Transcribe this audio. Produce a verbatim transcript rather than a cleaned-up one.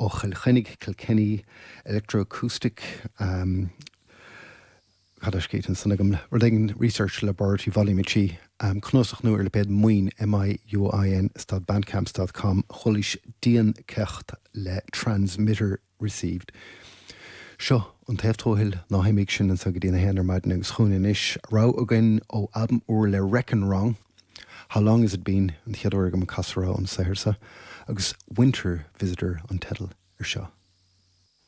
ó Chill Chainnigh Kilkenny Electroacoustic um, Cad scéit san agam rud éigin Research Laboratory Volume trí um, cnuasach nua ar lipéad Muin MIUIN dot bandcamp dot com chualaís Diancheacht le Transmitter Received. Seo an taobh tuathail ná himigh sin anseo go dtí a haon ar maidin agus chugainn anois rogha againn ó albam úr le Reckon Wrong. How Long Has It Been an chéad uair agam casadh an saothar seo agus Winter Visitor an teideal ar seo.